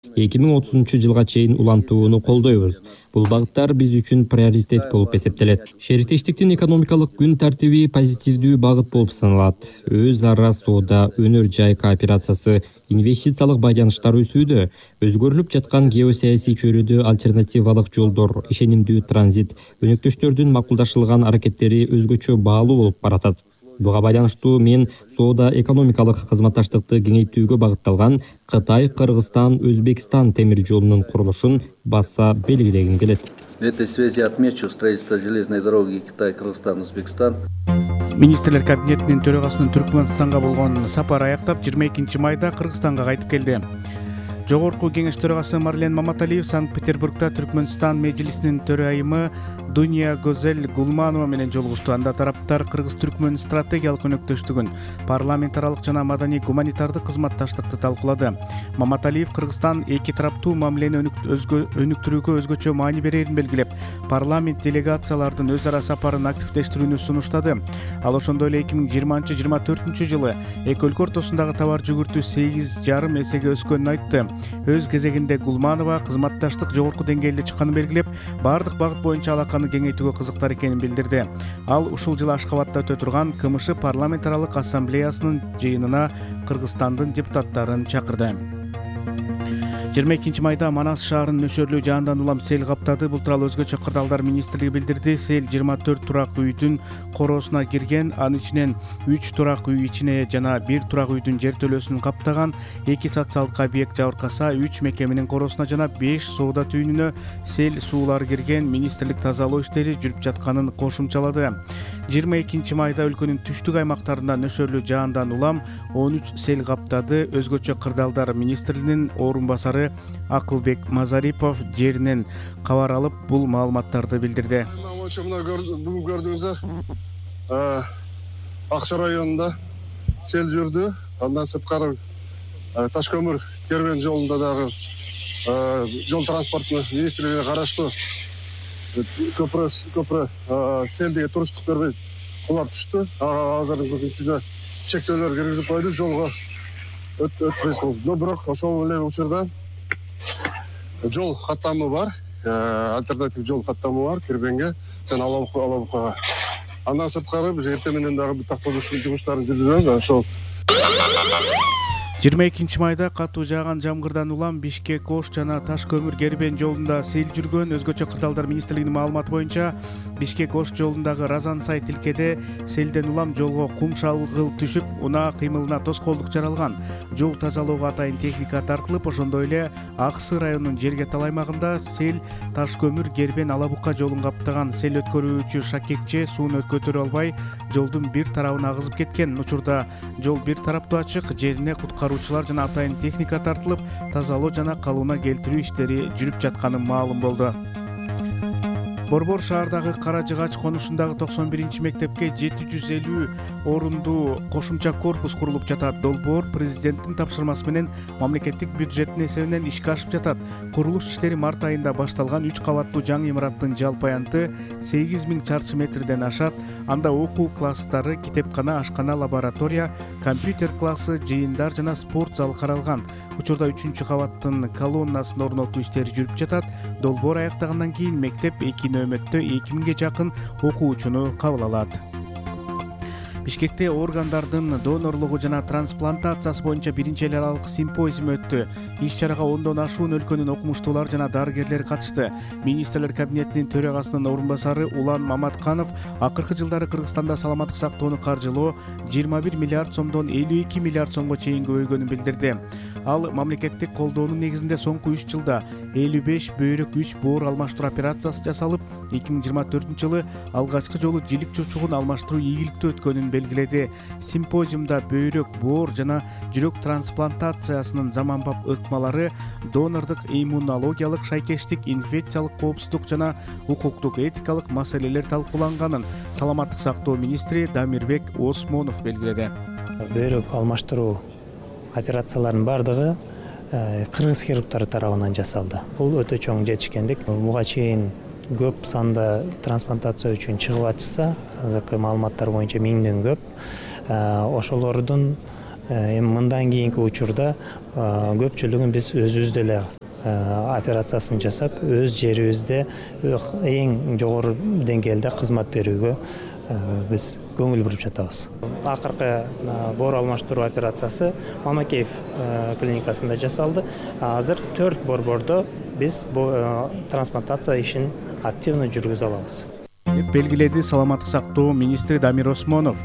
2030-жылга чейин улантууну колдойбуз. Бул багыттар биз үчүн приоритет болуп эсептелет. Шериктештиктин экономикалык күн тартиби позитивдүү багыт болуп саналат. Өз ара соода, өнөр жай кооперациясы, инвестициялык байланыштар өсүүдө, өзгөрүлүп жаткан геосаясий чөйрөдө альтернативалык жолдор, ишенимдүү транзит, өнөктөштөрдүн макулдашылган аракеттери өзгөчө баалуу болуп баратат. Буга байланыштуу мен соода экономикалык кызматташтыкты кеңейтүүгө багытталган Кытай, Кыргызстан, Өзбекстан темир жолунун курулушун баса белгилегим келет. В этой связи отмечу строительство железной дороги Китай, Кыргызстан, Өзбекстан. Министрлер кабинетинин төрагасынын Түркмөнстанга болгон сапары аяктап 22 майда Кыргызстанга кайтып келди. Жогорку кеңеш төрагасы Марлен Маматалиев Санкт-Петербургда Түркмөнстан межлисинин төрайымы Дуния Гозель Гулманова менен жолугушту. Анда тараптар Кыргыз-Түркмөн стратегиялык өнөктөштүгүн, парламент аралык жана маданий гуманитардык кызматташтыкты талкуулады. Маматалиев Кыргызстан эки тараптуу мамилени өнүктүрүүгө өзгөчө маани берерин белгилеп, парламент делегациялардын өз ара сапарын активдештирүүнү сунуштады. Ал ошондой эле 2020-24 жылы эки өлкө ортосундагы товар жүгүртүү 8,5 эсеге өскөнүн айтты. Өз кезегинде Гулманова кызматташтык жогорку деңгээлде чыкканын белгилеп, бардык багыт боюнча алаканы кеңейтүүгө кызыктар экенин билдирди. Ал ушул жылы Ашкабадта өтө турган КМШ парламент аралык ассамблеясынын жыйынына Кыргызстандын депутаттарын чакырды. 22 майда Манас шаарынын нөшөрлүү жаандан улам сел каптады. Бул тууралуу өзгөчө кырдаалдар министрлиги билдирди. Сел 24 турак үйдүн короосуна кирген, анын ичинен 3 турак үй ичине жана 1 турак үйдүн жертөлөсүн каптаган. 2 социалдык объект жабыркаса, 3 мекеменин короосуна жана 5 соода түйүнүнө сел суулар кирген. Министрлик тазалоо иштери жүрүп жатканын кошумчалады. 22 майда өлкөнүн түштүк аймактарында нөшөрлүү жаандан улам 13 сел каптады. Өзгөчө кырдаалдар министринин орун басары Акылбек Мазарипов жеринен кабар алып, бул маалыматтарды билдирди. Бүгүн көрдүңүздөр, Акча районунда сел жүрдү. Андан сырткары Таш көмүр кербен жолунда дагы жол транспорту министрлигине караштуу көпүрө селдиге туруштук бербей кулап түштү. Азыркы күндө чектөөлөр киргизип койду, жолго өтпөй калды. Бирок ошол эле учурда жол каттамы бар, альтернатив жол каттамы бар Кербенге жана Алабукага. Андан сырткары биз эртең менен дагы тактоолуш жумуштарын жүргүзөбүз. Ошол 22 майда катуу жааган жамгырдан улам Бишкек-Ош жана Таш көмүр кербен жолунда сел жүргөн. Өзгөчө кырдаалдар министрлигинин маалыматы боюнча Бишкек-Ош жолундагы Разан-Сай тилкеде селден улам жолго кум шалгыл түшүп, унаа кыймылына тоскоолдук жаралган. Жол тазалоого атайын техника тартылып, ошондой эле Аксы районунун Жергетал аймагында сел Таш көмүр кербен Алабука жолун каптаган. Сел өткөрүүчү Шакекче сууну көтөрө албай, жолдун бир тарабына агызып кеткен. Учурда жол бир тараптуу ачык, жерине куткаруучулар жана атайын техника тартылып, тазалоо жана калыбына келтирүү иштери жүрүп жатканы маалым болду. Борбор шаардагы Кара Жыгач конушундагы 91 мектепке 750 орундуу кошумча корпус курулуп жатат. Долбоор президенттин тапшырмасы менен мамлекеттик бюджеттин эсебинен ишке ашып жатат. Курулуш иштери март айында башталган. 3 кабаттуу жаңы имараттын жалпы аянты 8000 чарчы метрден ашат. Анда окуу класстары, китепкана, ашкана, лаборатория, компьютер классы, жыйындар жана спорт залы каралган. Учурда 3 кабаттын колоннасын орнотуу иштери жүрүп жатат. Долбоор аяктагандан кийин мектеп 2 нөөмөттө 2000ге жакын окуучуну кабыл алат. Бишкекте органдардын донорлугу жана трансплантациясы боюнча биринчи эл аралык симпозиум өттү. Иш чарага 10дон ашуун өлкөнүн окумуштуулары жана дарыгерлери катышты. Министрлер кабинетинин төрагасынын орун басары Улан Маматканов акыркы жылдары Кыргызстанда саламаттык сактоону каржылоо 21 миллиард сомдон 52 миллиард сомго чейин көбөйгөнүн билдирди. Ал мамлекеттик колдоонун негизинде соңку 3 жылда 55 бөйрөк 3 боор алмаштыруу операциясы жасалып, 2024 жылы алгачкы жолу жилик чучугун алмаштыруу ийгиликтүү өткөнүн белгиледи. Симпозиумда бөйрөк, боор жана жүрөк трансплантациясынын заманбап ыкмалары, донордук иммунологиялык шайкештик, инфекциялык коопсуздук жана укуктук этикалык маселелер талкууланганын саламаттык сактоо министри Дамирбек Осмонов белгиледи. Бөйрөк алмаштыруу операциялардын бардыгы кыргыз хирургтары тарабынан жасалды. Бул өтө чоң жетишкендик. Буга чейин көп санда трансплантация үчүн чыгып атышса, азыркы маалыматтар боюнча 1000ден көп. Ошолордун Эми мындан кийинки учурда көпчүлүгүн биз өзүбүз деле операциясын жасап, өз жерибизде эң жогору деңгээлде кызмат берүүгө биз көңүл буруп жатабыз. Акыркы боор алмаштыруу операциясы Мамакеев клиникасында жасалды. Азыр 4 борбордо биз трансплантация ишин активно жүргүзө алабыз. Деп белгиледи саламаттык сактоо министри Дамир Осмонов.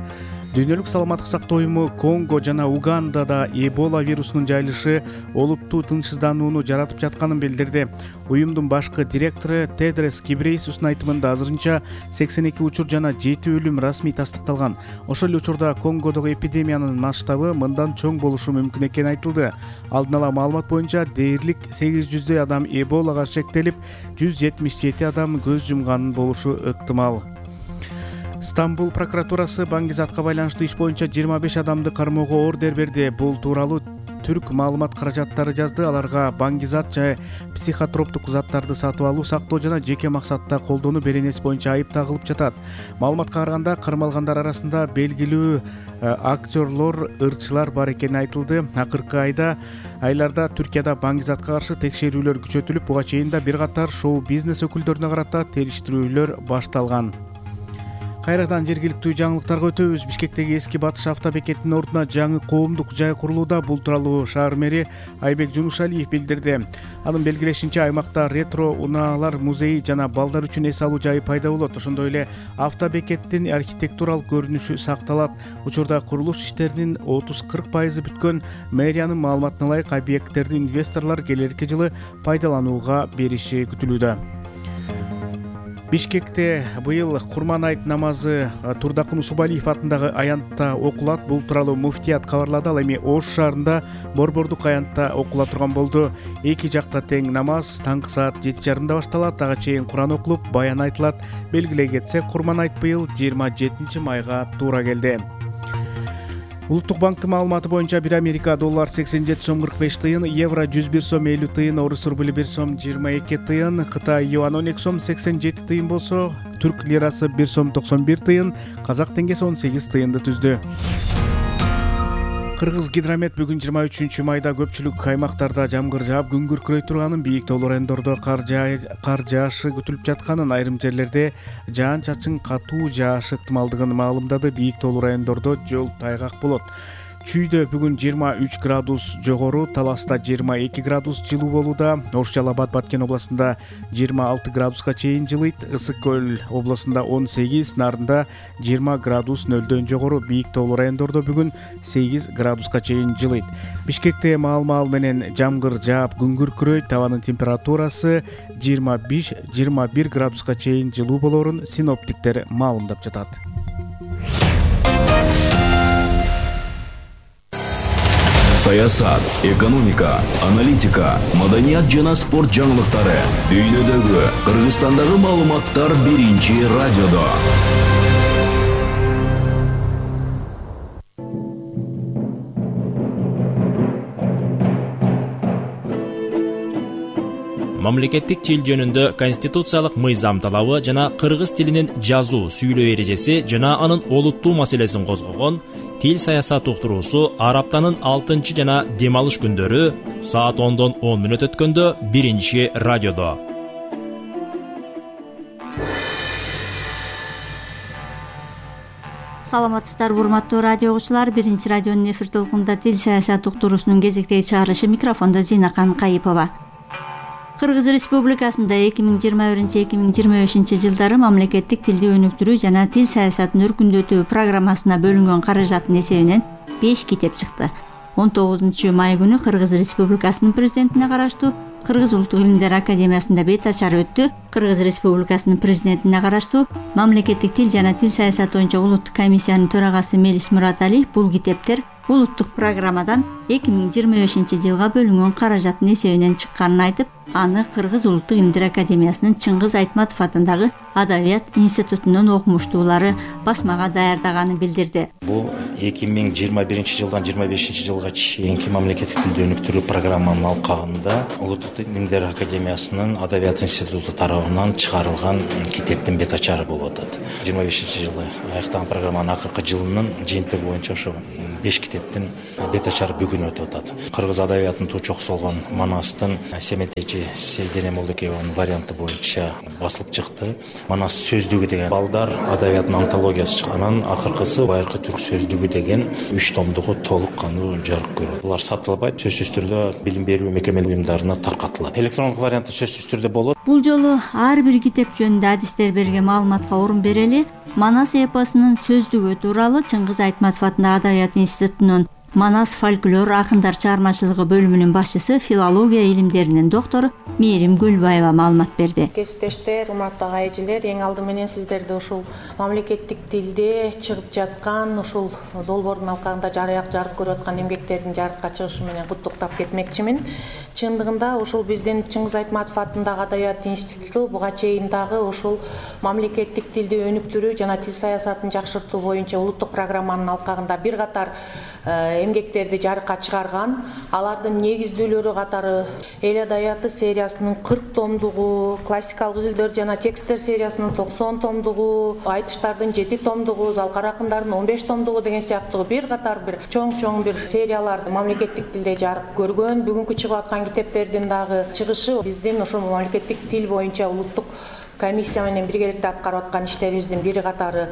Дүйнөлүк саламаттык сактоо уюму Конго жана Угандада Эбола вирусунун жайылышы олуттуу тынчсызданууну жаратып жатканын билдирди. Уюмдун башкы директору Тедрос Гебрейесустун айтымында азырынча 82 учур жана 7 өлүм расмий тастыкталган. Ошол эле учурда Конгодогу эпидемиянын масштабы мындан чоң болушу мүмкүн экени айтылды. Алдын ала маалымат боюнча дээрлик 800 адам Эболага шектелип, 177 адам көз жумган болушу ыктымал. Стамбул прокуратурасы Баңгизатка байланыштуу иш боюнча 25 адамды кармоого ордер берди. Бул тууралуу Түрк маалымат каражаттары жазды. Аларга Баңгизат жай психотроптук заттарды сатып алуу, сактоо жана жеке максатта колдонуу беренеси боюнча айып тагылып жатат. Маалыматка караганда кармалгандар арасында белгилүү актерлор, ырчылар бар экени айтылды. Акыркы айларда Түркияда Баңгизатка каршы текшерүүлөр күчөтүлүп, буга чейин да бир катар шоу-бизнес өкүлдөрүнө карата териштирүүлөр башталган. Кайрадан жергиликтүү жаңылыктарга өтөбүз. Бишкектеги эски Батыш автобекетинин ордуна жаңы коомдук жай курулууда. Бул тууралуу шаар мэри Айбек Жунушалиев билдирди. Анын белгилешинче, аймакта ретро унаалар музейи жана балдар үчүн эс алуу жайы пайда болот. Ошондой эле автобекеттин архитектуралык көрүнүшү сакталат. Учурда курулуш иштеринин 30-40% бүткөн. Мэриянын маалыматына ылайык, объекттерди инвесторлор келерки жылы пайдаланууга бериши күтүлүүдө. Бишкекте быйыл Курман айт намазы Турдакын Усубалиев атындагы аянтта окулат. Бул тууралуу муфтият кабарлады. Ал эми Ош шаарында борбордук аянтта окула турган болду. Эки жакта тең намаз таңкы саат 7:30 башталат. Ага чейин Куран окулуп, баян айтылат. Белгилей кетсек, Курман айт быйыл 27 майга туура келди. Улуттук банктын маалыматы боюнча бир Америка доллар 87 сом 45 тыйын, евро 101 сом 50 тыйын, орус рубли 1 сом 22 тыйын, Кытай юан 12 сом 87 тыйын болсо, түрк лирасы 1 сом 91 тыйын, казак теңгеси 18 тыйынды түздү. Кыргыз гидромет бүгүн 23 майда көпчүлүк аймактарда жамгыр жаап, күн күркүрөй турганын, бийик тоолуу райондордо кар жаашы күтүлүп жатканын, айрым жерлерде жаан-чачын катуу жаашы ыктымалдыгын маалымдады. Бийик тоолуу райондордо жол тайгак болот. Чүйдө бүгүн 23 градус жогору, Таласта 22 градус жылуу болууда. Ош Жалал Абад Баткен областында 26 градуска чейин жылыйт. Ысык көл областында 18, Нарында 20 градус нөлдөн жогору. Бийик тоолуу райондордо бүгүн 8 градуска чейин жылыйт. Бишкекте маал менен жамгыр жаап, күн күркүрөйт. Табанын температурасы 25-21 градуска чейин жылуу болорун синоптиктер маалымдап жатат. Саясат, экономика, аналитика, маданият жана спорт жаңылыктары. Дүйнөдөгү, Кыргызстандагы маалыматтар биринчи радиодо. Мамлекеттик тил жөнүндө конституциялык мыйзам талабы жана кыргыз тилинин жазуу, сүйлөө эрежеси жана анын олуттуу маселесин козгогон Тил саясат уктуруусу ар аптанын 6 жана дем алыш күндөрү саат 10:10 өткөндө биринчи радиодо. Саламатсыздарбы, урматтуу радио угуучулар. Биринчи радионун эфир толкунунда тил саясат уктуруусунун кезектеги чыгарылышы, микрофондо Зинакан Кайыпова. Кыргыз Республикасында 2021-2025 жылдары мамлекеттик тилди өнүктүрүү жана тил саясатын өркүндөтүү программасына бөлүнгөн каражаттын эсебинен 5 китеп чыкты. 19 май күнү Кыргыз Республикасынын президентине караштуу Кыргыз Улуттук илимдер академиясында бет ачар өттү. Кыргыз Республикасынын президентине караштуу мамлекеттик тил жана тил саясаты боюнча улуттук комиссиянын төрагасы Мелис Мураталиев бул китептер улуттук программадан 2025 жылга бөлүнгөн каражаттын эсебинен чыкканын айтып, аны Кыргыз Улуттук илимдер академиясынын Чыңгыз Айтматов атындагы Адабият институтунун окумуштуулары басмага даярдаганын билдирди. Бул 2021 жылдан 25 жылга чейинки мамлекеттик тилди өнүктүрүү программанын алкагында Улуттук илимдер академиясынын Адабият институту тарабынан чыгарылган китептин бет ачары болуп атат. 25 жылы аяктаган программанын акыркы жылынын жыйынтыгы боюнча ошо 5 китеп китептин бет ачар бүгүнү өтүп атат. Кыргыз адабиятынын туучусу болгон Манастын Семетейчи Сейдене Молдокееванын варианты боюнча басылып чыкты. Манас сөздүгү деген балдар адабиятынын антологиясы чыккан. Акыркысы Байыркы түрк сөздүгү деген 3 томдугу толук кандуу жарык көрөт. Булар сатылбайт, сөзсүз түрдө билим берүү мекемелик уюмдарына таркатылат. Электрондук варианты сөзсүз түрдө болот. Бул жолу ар бир китеп жөнүндө адистер берген маалыматка орун берели. Манас эпосунун сөздүгү тууралуу Чыңгыз Айтматов атындагы Адабият институтунун Манас фольклор акындар чыгармачылыгы бөлүмүнүн башчысы, филология илимдеринин доктору Мээрим Гүлбаева маалымат берди. Кесиптештер, урматтуу айжилер, эң алды менен сиздерди ушул мамлекеттик тилде чыгып жаткан ушул долбоордун алкагында жарык көрүп аткан эмгектердин жарыкка чыгышы менен куттуктап кетмекчимин. Чындыгында ушул биздин Чыңгыз Айтматов атындагы Адабият институту буга чейин дагы ушул мамлекеттик тилди өнүктүрүү жана тил саясатын жакшыртуу боюнча улуттук программанын алкагында бир катар эмгектерди жарыкка чыгарган. Алардын негиздүүлөрү катары Эл адабияты сериясынын 40 томдугу, классикалык үзүлдөр жана тексттер сериясынын 90 томдугу, айтыштардын 7 томдугу, залкар акындардын 15 томдугу деген сыяктуу бир катар бир чоң бир сериялар мамлекеттик тилде жарык көргөн. Бүгүнкү чыгып аткан китептердин дагы чыгышы биздин ошол мамлекеттик тил боюнча улуттук комиссия менен биргеликте аткарып аткан иштерибиздин бири катары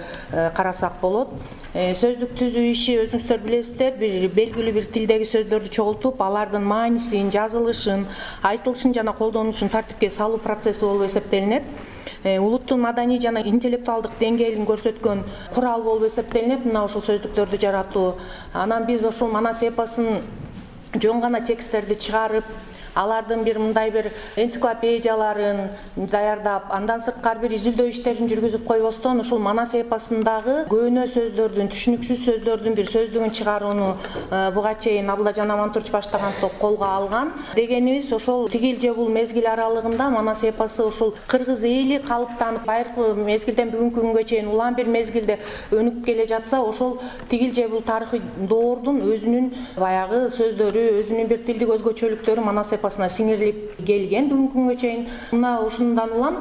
карасак болот. Сөздүк түзүү иши өзүңүздөр билесиздер, бир белгилүү бир тилдеги сөздөрдү чогултуп, алардын маанисин, жазылышын, айтылышын жана колдонушун тартипке салуу процесси болуп эсептелинет. Улуттун маданий жана интеллектуалдык деңгээлин көрсөткөн курал болуп эсептелинет мына ушул сөздүктөрдү жаратуу. Анан биз ошол Манас эпосун жөн гана тексттерди чыгарып, алардын бир мындай бир энциклопедияларын даярдап, андан сырткары бир изилдөө иштерин жүргүзүп койбостон, ушул Манас эпосундагы көөнө сөздөрдүн, түшүнүксүз сөздөрдүн бир сөздүгүн чыгарууну буга чейин Абылажан Амантурч баштаган топ колго алган. Дегенибиз ошол тигил же бул мезгил аралыгында Манас эпосу ушул кыргыз эли калыптанып, байыркы мезгилден бүгүнкү күнгө чейин улам бир мезгилде өнүгүп келе жатса, ошол тигил же бул тарыхый доордун өзүнүн баягы сөздөрү, өзүнүн бир тилдик өзгөчөлүктөрү Манас эпосуна сиңирилип келген бүгүнкү күнгө чейин. Мына ушундан улам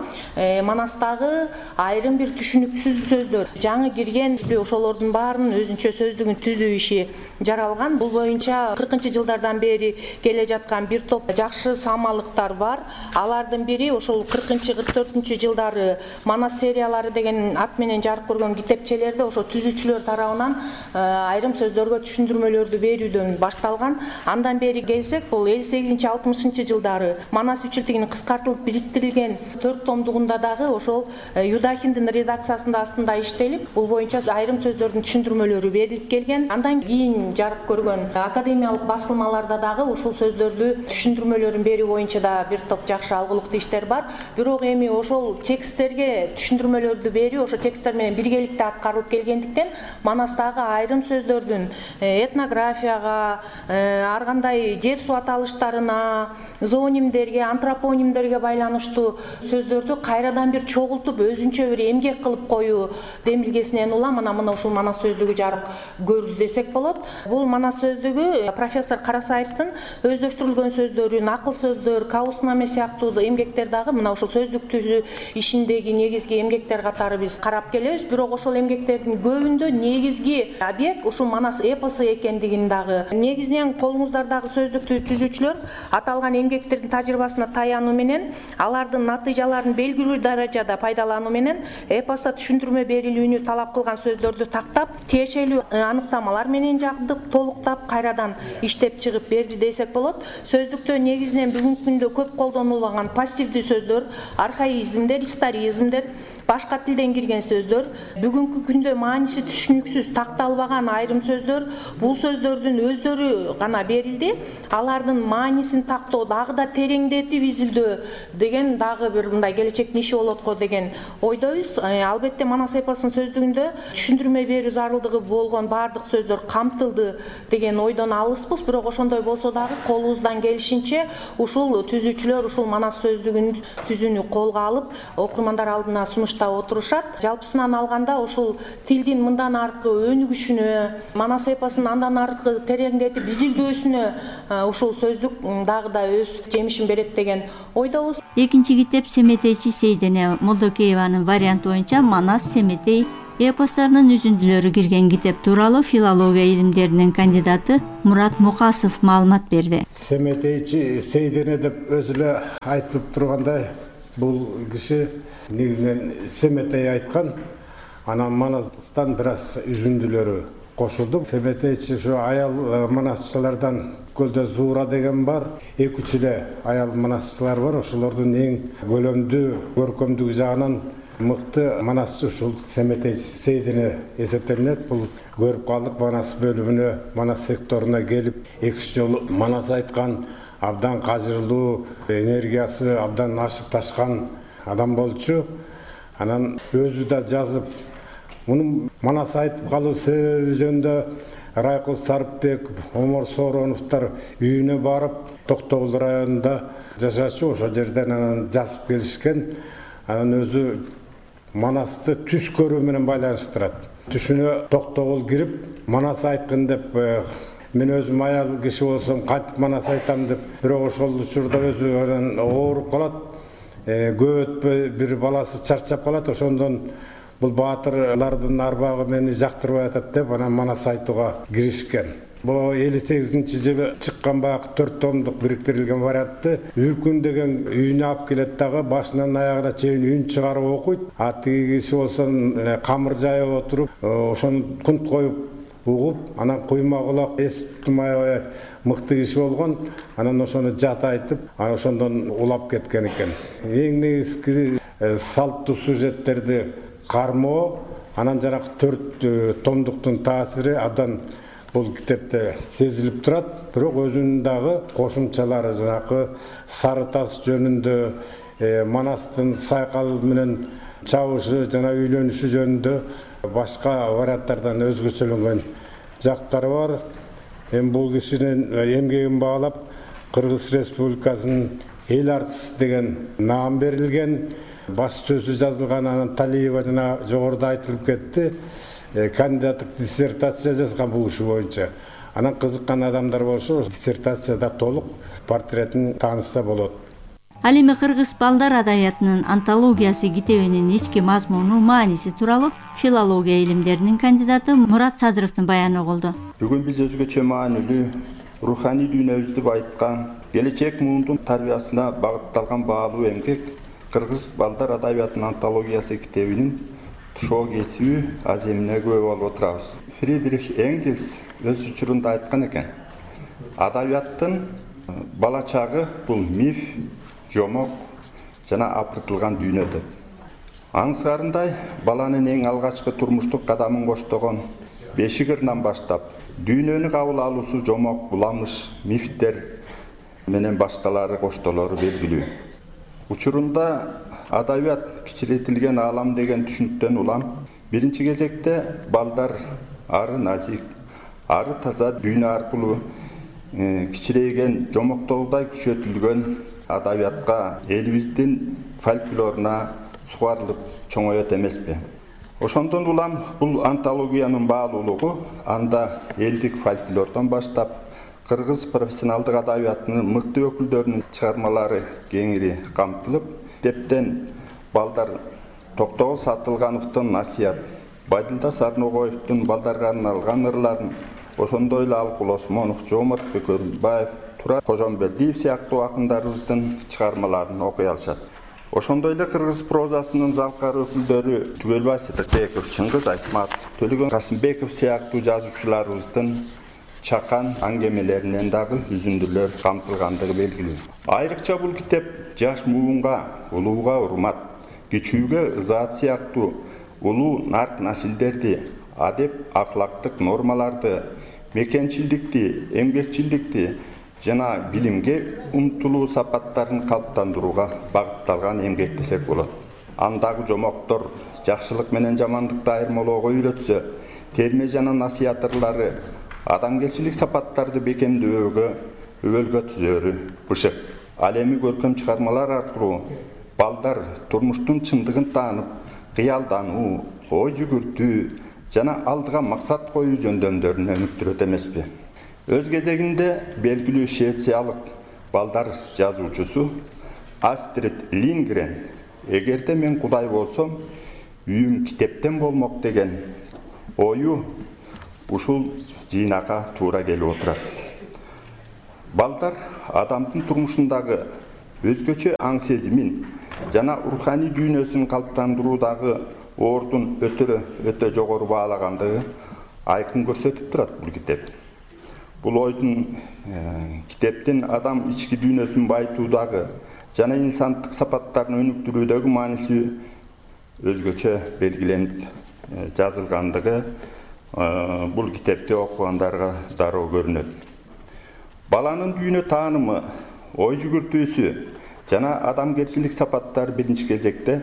Манастагы айрым бир түшүнүксүз сөздөр, жаңы кирген ошолордун баарынын өзүнчө сөздүгүн түзүү иши жаралган. Бул боюнча 40-жылдардан бери келе жаткан бир топ жакшы самалыктар бар. Алардын бири ошол 40-44 жылдары Манас сериялары деген ат менен жарык көргөн китепчелерде ошо түзүүчүлөр тарабынан айрым сөздөргө түшүндүрмөлөрдү берүүдөн башталган. Андан бери келсек, бул 58-60 жылдары Манас үчилтигинин кыскартылып бириктирилген 4 томдугунда дагы ошол Юдахиндин редакциясында астында иштелип, бул боюнча айрым сөздөрдүн түшүндүрмөлөрү берилип келген. Андан кийин жарык көргөн академиялык басылмаларда дагы ушул сөздөрдү түшүндүрмөлөрүн берүү боюнча да бир топ жакшы алгылыктуу иштер бар. Бирок эми ошол тексттерге түшүндүрмөлөрдү берүү ошо тексттер менен биргеликте аткарылып келгендиктен Манастагы айрым сөздөрдүн этнографияга, ар кандай жер суу аталыштарына, зоонимдерге, антропонимдерге байланыштуу сөздөрдү кайрадан бир чогултуп, өзүнчө бир эмгек кылып коюу демилгесинен улам мына ушул Манас сөздүгү жарык көрдү десек болот. Бул Манас сөздүгү профессор Карасаевдин өздөштүрүлгөн сөздөрүн, акыл сөздөр, кауснаме сыяктуу эмгектер дагы мына ушул сөздүк түзүү ишиндеги негизги эмгектер катары биз карап келебиз. Бирок ошол эмгектердин көбүндө негизги объект ушул Манас эпосу экендигин дагы, негизинен колуңуздардагы сөздүктү түзүүчүлөр аталган эмгектердин тажрыйбасына таянуу менен, алардын натыйжаларын белгилүү даражада пайдалануу менен эпоста түшүндүрмө берилүүнү талап кылган сөздөрдү тактап, тиешелүү аныктамалар менен жагдып, толуктап, кайрадан иштеп чыгып берди десек болот. Сөздүктө негизинен бүгүнкү күндө көп колдонулган пассивдүү сөздөр, архаизмдер, историзмдер, башка тилден кирген сөздөр, бүгүнкү күндө мааниси түшүнүксүз, такталбаган айрым сөздөр, бул сөздөрдүн өздөрү гана берилди. Алардын маанисин тактоо, дагы да тереңдетип изилдөө деген дагы бир мындай келечектин иши болот го деген ойдойбуз. Албетте Манас эпосунун сөздүгүндө түшүндүрмө берүү зарылдыгы болгон баардык сөздөр камтылды деген ойдон алыспыз. Бирок ошондой болсо дагы колубуздан келишинче ушул түзүүчүлөр ушул Манас сөздүгүн түзүүнү колго алып, окурмандар алдына сунуштап отурушат. Жалпысынан алганда ушул тилдин мындан аркы өнүгүшүнө, Манас эпосун андан аркы тереңдетип изилдөөсүнө ушул сөздүк дагы да өз жемишин берет деген ойдобуз. Экинчи китеп Семетейчи Сейдене Молдокееванын варианты боюнча Манас Семетей эпостарынын үзүндүлөрү кирген китеп тууралуу филология илимдеринин кандидаты Мурат Мукасов маалымат берди. Семетейчи Сейдене деп өзү эле айтылып тургандай, бул киши негизинен Семетей айткан, анан Манастан бир аз үзүндүлөрү кошулду. Семетейчи ушу аял манасчылардан көлдө Зуура деген бар, 2-3 эле аял манасчылар бар. Ошолордун эң көлөмдүү, көркөмдүгү жагынан мыкты манасчы ушул Семетейчи Сейдене эсептелинет. Бул көрүп калдык Манас бөлүмүнө, Манас секторуна келип 2 жолу Манас айткан, абдан кажырлуу, энергиясы абдан ашып ташкан адам болчу. Анан өзү да жазып, мунун Манас айтып калуу себеби жөнүндө Райкул Сарыпбек, Омор Соороновдор үйүнө барып, Токтогул районунда жашачу, ошол жерден анан жазып келишкен. Анан өзү Манасты түш көрүү менен байланыштырат. Түшүнө Токтогул кирип, Манас айткын деп, мен өзүм аял киши болсом кантип Манас айтам деп, бирок ошол учурда өзү анан ооруп калат. Көп өтпөй бир баласы чарчап калат, ошондон бул баатырлардын арбагы мени жактырбай атат деп анан Манас айтууга киришкен. Бул 58-жылы чыккан баягы 4 томдук бириктирилген вариантты Үркүн деген үйүнө алып келет дагы, башынан аягына чейин үн чыгарып окуйт. А тиги киши болсо камыр жайып отуруп, ошону кунт коюп угуп, анан куйма кулак эс тутмай мыкты киши болгон. Анан ошону жат айтып, ошондон улап кеткен экен. Эң негизги салттуу сюжеттерди кармоо, анан жанагы 4 томдуктун таасири абдан бул китепте сезилип турат. Бирок өзүнүн дагы кошумчалары, жанагы Сары тас жөнүндө, Манастын Сайкал менен чабышы жана үйлөнүшү жөнүндө башка варианттардан өзгөчөлөнгөн жактары бар. Эми бул кишинин эмгегин баалап Кыргыз Республикасынын эл артисти деген наам берилген. Баш сөзү жазылган, анан Талиева жана жогоруда айтылып кетти. Кандидаттык диссертация жазган бул иши боюнча. Анан кызыккан адамдар болсо, диссертацияда толук портретин таанышса болот. Ал эми кыргыз балдар адабиятынын антологиясы китебинин ички мазмуну, мааниси тууралуу филология илимдеринин кандидаты Мурат Садыровдун баяны болду. Бүгүн биз өзгөчө маанилүү, руханий дүйнөбүздү байыткан, келечек муундун тарбиясына багытталган баалуу эмгек Кыргыз балдар адабиятынын антологиясы китебинин тушоо кесиби аземине күбө болуп отурабыз. Фридрих Энгельс өз учурунда айткан экен: адабияттын бала чагы бул миф, жомок жана апыртылган дүйнө деп. Аңсарындай баланын эң алгачкы турмуштук кадамын коштогон бешик ырынан баштап, дүйнөнү кабыл алуусу жомок, буламыш, мифтер менен башталары коштолору белгилүү. Учурунда адабият кичирейтилген аалам деген түшүнүктөн улам биринчи кезекте балдар ары назик, ары таза дүйнө аркылуу кичирейген, жомоктоодой күчөтүлгөн адабиятка, элибиздин фольклоруна сугарылып чоңоет эмеспи? Ошондон улам бул антологиянын баалуулугу анда элдик фольклордон баштап кыргыз профессионалдык адабиятынын мыкты өкүлдөрүнүн чыгармалары кеңири камтылып, китептен балдар Токтогул Сатылгановдун насият, Байдылда Сарногоевдун балдарга арналган ырларын, ошондой эле Алкул Осмонов, Жоомарт Бөкөрбаев, Тура Кожомбердиев сыяктуу акындарыбыздын чыгармаларын окуй алышат. Ошондой эле кыргыз прозасынын залкар өкүлдөрү Түгөлбай Сыдыкбеков, Чыңгыз Айтматов, Төлөгөн Касымбеков сыяктуу жазуучуларыбыздын чакан аңгемелеринен дагы үзүндүлөр камтылгандыгы белгилүү. Айрыкча бул китеп жаш муунга, улууга урмат, кичүүгө ызаат сыяктуу улуу нарк насилдерди, адеп акылактык нормаларды, мекенчилдикти, эмгекчилдикти жана билимге умтулуу сапаттарын калыптандырууга багытталган эмгек десек болот. Андагы жомоктор жакшылык менен жамандыкты айырмалоого үйрөтсө, терме жана насият ырлары адамгерчилик сапаттарды бекемдөөгө, өбөлгө түзөөрү бышык. Ал эми көркөм чыгармалар аркылуу балдар турмуштун чындыгын таанып, кыялдануу, ой жүгүртүү жана алдыга максат коюу жөндөмдөрүнө үмүттөрөт эмеспи? Өз кезегинде белгилүү швециялык балдар жазуучусу Астрид Лингрен: эгерде мен Кудай болсом, үйүм китептен болмок деген ою ушул жыйнакка туура келип отурат. Балдар адамдын турмушундагы өзгөчө аң сезимин жана руханий дүйнөсүн калыптандыруудагы ордун өтө жогору баалагандыгы айкын көрсөтүп турат бул китеп. Бул ойдун китептин адам ички дүйнөсүн байытуудагы жана инсандык сапаттарын өнүктүрүүдөгү мааниси өзгөчө белгиленип жазылгандыгы бул китепти окугандарга дароо көрүнөт. Баланын дүйнө таанымы, ой жүгүртүүсү жана адамгерчилик сапаттары биринчи кезекте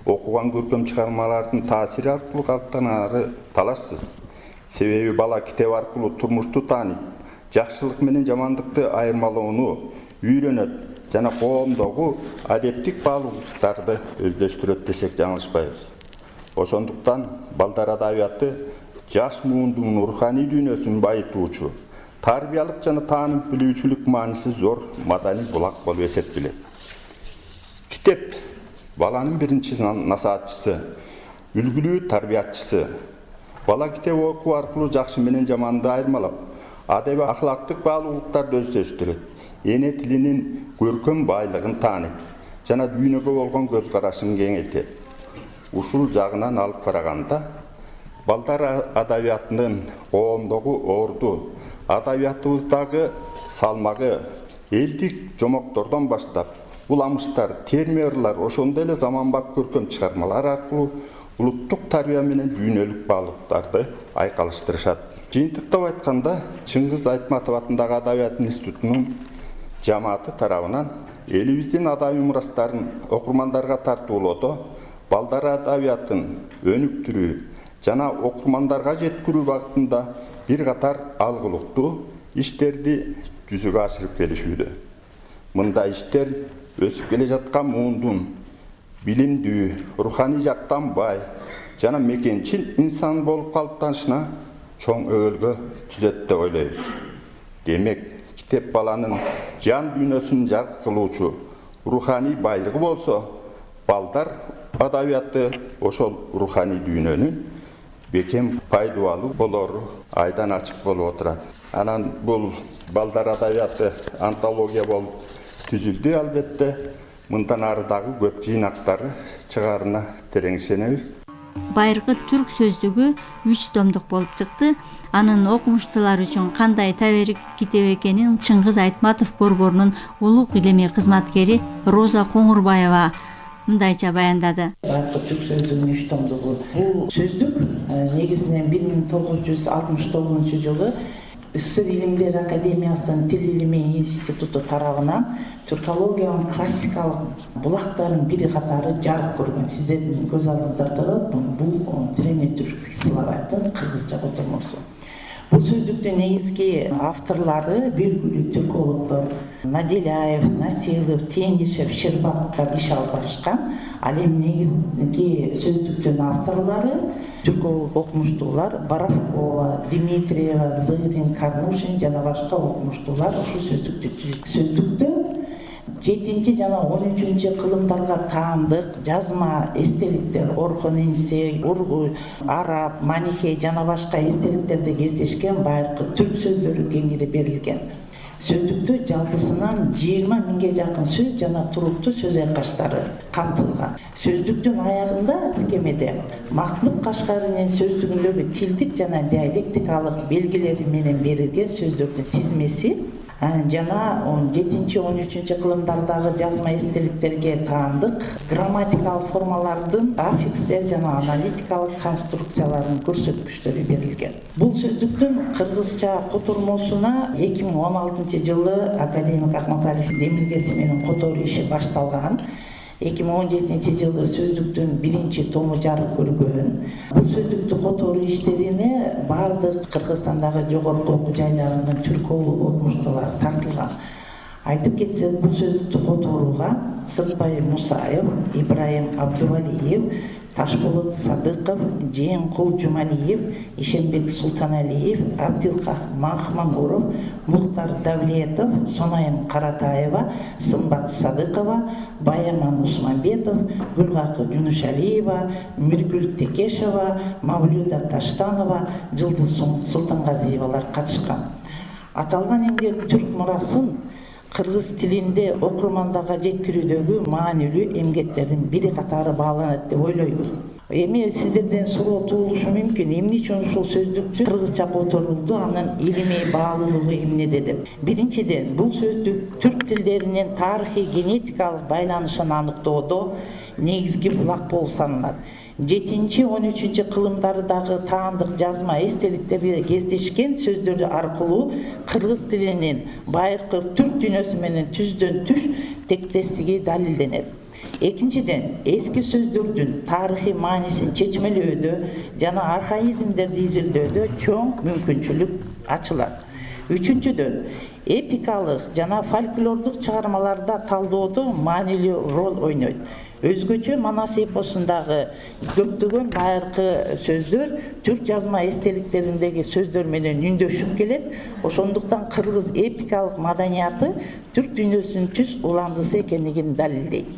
окуган көркөм чыгармалардын таасири аркылуу калыптанары талашсыз. Себеби бала китеп аркылуу турмушту тааныйт, жакшылык менен жамандыкты айырмалоону үйрөнөт жана коомдогу адептик баалуулуктарды өздөштүрөт десек жаңылышпайбыз. Ошондуктан балдар адабияты жаш муундун руханий дүйнөсүн байытуучу, тарбиялык жана тааным билүүчүлүк мааниси зор маданий булак болуп эсептелет. Китеп баланын биринчи насаатчысы, үлгүлүү тарбиятчысы. Бала китеп окуу аркылуу жакшы менен жаманды айырмалап, адеби ахлактык баалуулуктарды өздөштүрөт, эне тилинин көркөм байлыгын тааныйт жана дүйнөгө болгон көз карашын кеңейтет. Ушул жагынан алып караганда, балдар адабиятынын коомдогу орду, адабиятыбыздагы салмагы элдик жомоктордон баштап, уламыштар, термирлар, ошондой эле заманбап көркөм чыгармалар аркылуу улуттук тарбия менен дүйнөлүк баалуулуктарды айкалыштырышат. Жыйынтыктап айтканда, Чыңгыз Айтматов атындагы Адабият институтунун жамааты тарабынан элибиздин адабий мурастарын окурмандарга тартуулоодо балдар адабиятын өнүктүрүү жана окурмандарга жеткирүү багытында бир катар алгылыктуу иштерди жүзөгө ашырып келишүүдө. Мындай иштер өсүп келе жаткан муундун билимдүү, руханий жактан бай жана мекенчил инсан болуп калыптанышына чоң өбөлгө түзөт деп ойлойбуз. Демек, китеп баланын жан дүйнөсүн жарык кылуучу руханий байлыгы болсо, балдар адабияты ошол руханий дүйнөнүн бекем пайдалуу болору айдан ачык болуп отурат. Анан бул балдар адабияты антология болуп түзүлдү албетте. Мындан ары дагы көп жыйнактары чыгаарына терең ишенебиз. Байыркы түрк сөздүгү 3 томдук болуп чыкты. Анын окумуштуулар үчүн кандай таберик китеп экенин Чыңгыз Айтматов борборунун улук илимий кызматкери Роза Коңурбаева мындайча баяндады. Байыркы түрк сөздүгүнүн 3 томдугу. Бул сөздүк негизинен 1969 жылы СССР Илимдер Академиясынын Тил илими институту тарабынан түркологиянын классикалык булактарынын бири катары жарык көргөн. Сиздердин көз алдыңыздарда бул древний түркский словарьдын кыргызча котормосу. Бул сөздүктүн негизги авторлору белгилүү түркологдор Наделяев, Насилов, Тенишев, Щербаковдор иш алып барышкан. Ал эми негизги сөздүктүн авторлору түрколог окумуштуулар Боровкова, Дмитриева, Зырин, Карнушин жана башка окумуштуулар ушул сөздүктү түзүп. Сөздүктө 7 жана 13 кылымдарга таандык жазма эстеликтер Орхон Энсе, Ургуй, Араб, Манихей жана башка эстеликтерде кездешкен байыркы түрк сөздөрү кеңири берилген. Сөздүктө жалпысынан 20 миңге жакын сөз жана туруктуу сөз айкаштары камтылган. Сөздүктүн аягында тиркемеде Махмуд Кашкаринин сөздүгүндөгү тилдик жана диалектикалык белгилери менен берилген сөздөрдүн тизмеси жана 7-13 кылымдардагы жазма эстеликтерге таандык грамматикалык формалардын аффикстер жана аналитикалык конструкцияларынын көрсөткүчтөрү берилген. Бул сөздүктүн кыргызча котормосуна 2016 жылы академик Акматалиевдин демилгеси менен которуу иши башталган. 2017 жылы сөздүктүн 1 тому жарык көргөн. Бул сөздүктү которуу иштерине бардык Кыргызстандагы жогорку окуу жайларынын түрколог окумуштуулары тартылган. Айтып кетсек, бул сөздүктү которууга Сыртбай Мусаев, Ибраим Абдувалиев, Ташболот Садыков, Жээнкул Жумалиев, Ишенбек Султаналиев, Абдилках Махмангуров, Мухтар Давлетов, Сонайым Каратаева, Сымбат Садыкова, Баяман Усманбетов, Гүлгакы Жунушалиева, Миргүл Текешева, Мавлюда Таштанова, Жылдыз Султангазиевалар катышкан. Аталган эмгек түрк мурасын кыргыз тилинде окурмандарга жеткирүүдөгү маанилүү эмгектердин бири катары бааланат деп ойлойбуз. Эми сиздерден суроо туулушу мүмкүн, эмне үчүн ушул сөздүктү кыргызча которулду, анын илимий баалуулугу эмнеде деп. Биринчиден, бул сөздүк түрк тилдеринин тарыхый генетикалык байланышын аныктоодо негизги булак болуп саналат. 7-13 кылымдарындагы таандык жазма эстеликтерде кездешкен сөздөр аркылуу кыргыз тилинин байыркы түрк дүйнөсү менен түздөн түш тектестиги далилденет. Экинчиден, эски сөздөрдүн тарыхый маанисин чечмелөөдө жана архаизмдерди изилдөөдө чоң мүмкүнчүлүк ачылат. Үчүнчүдөн, эпикалык жана фольклордук чыгармаларда талдоодо маанилүү роль ойнойт. Өзгөчө Манас эпосундагы көптөгөн байыркы сөздөр түрк жазма эстеликтериндеги сөздөр менен үндөшүп келет. Ошондуктан кыргыз эпикалык маданияты түрк дүйнөсүнүн түз уландысы экендигин далилдейт.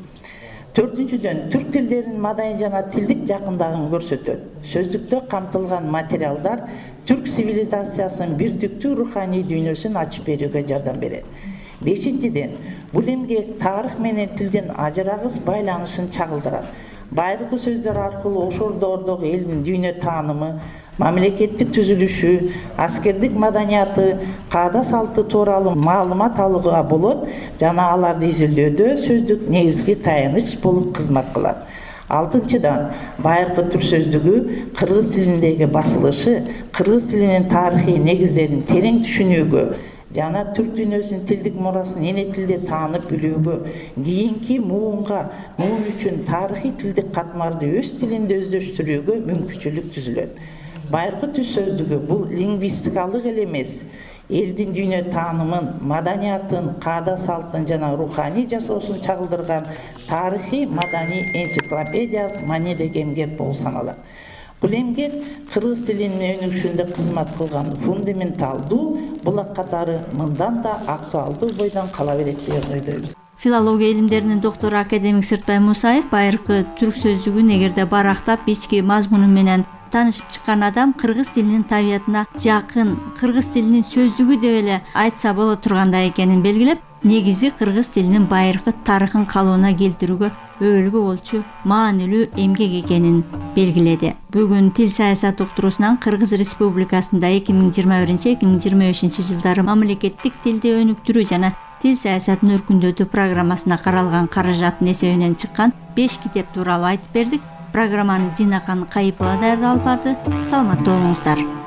Төртүнчүдөн, түрк тилдеринин маданий жана тилдик жакындыгын көрсөтөт. Сөздүктө камтылган материалдар түрк цивилизациясынын бирдиктүү руханий дүйнөсүн ачып берүүгө жардам берет. Бешинчиден, бул эмгек тарых менен тилдин ажырагыс байланышын чагылдырат. Байыркы сөздөр аркылуу ошолдордогу элдин дүйнө таанымы, мамлекеттик түзүлүшү, аскердик маданияты, каада салты тууралуу маалымат алууга болот жана аларды изилдөөдө сөздүк негизги таяныч болуп кызмат кылат. Алтынчыдан, байыркы түрк сөздүгү кыргыз тилиндеги басылышы кыргыз тилинин тарыхый негиздерин терең түшүнүүгө жана түрк дүйнөсүнүн тилдик мурасын эне тилде таанып билүүгө, кийинки муун үчүн тарыхый тилдик катмарды өз тилинде өздөштүрүүгө мүмкүнчүлүк түзүлөт. Байыркы түрк сөздүгү бул лингвистикалык эле эмес, элдин дүйнө таанымын, маданиятын, каада салтын жана руханий жашоосун чагылдырган тарыхый маданий энциклопедиялык маанидеги эмгек болуп саналат. Бул эмгек кыргыз тилинин өнүгүшүндө кызмат кылган фундаменталдуу булак катары мындан да актуалдуу бойдон кала берет деп ойдойбуз. Филология илимдеринин доктору академик Сыртбай Мусаев байыркы түрк сөздүгүн эгерде барактап ички мазмуну менен таанышып чыккан адам кыргыз тилинин табиятына жакын, кыргыз тилинин сөздүгү деп эле айтса боло тургандай экенин белгилеп, негизи кыргыз тилинин байыркы тарыхын калыбына келтирүүгө өбөлгө болчу маанилүү эмгек экенин белгиледи. Бүгүн тил саясат уктуруусунан Кыргыз Республикасында 2021-2025 жылдары мамлекеттик тилди өнүктүрүү жана тил саясатын өркүндөтүү программасына каралган каражаттын эсебинен чыккан 5 китеп тууралуу айтып бердик. Программаны Зинакан Кайыпова даярдап алып барды. Саламатта болуңуздар.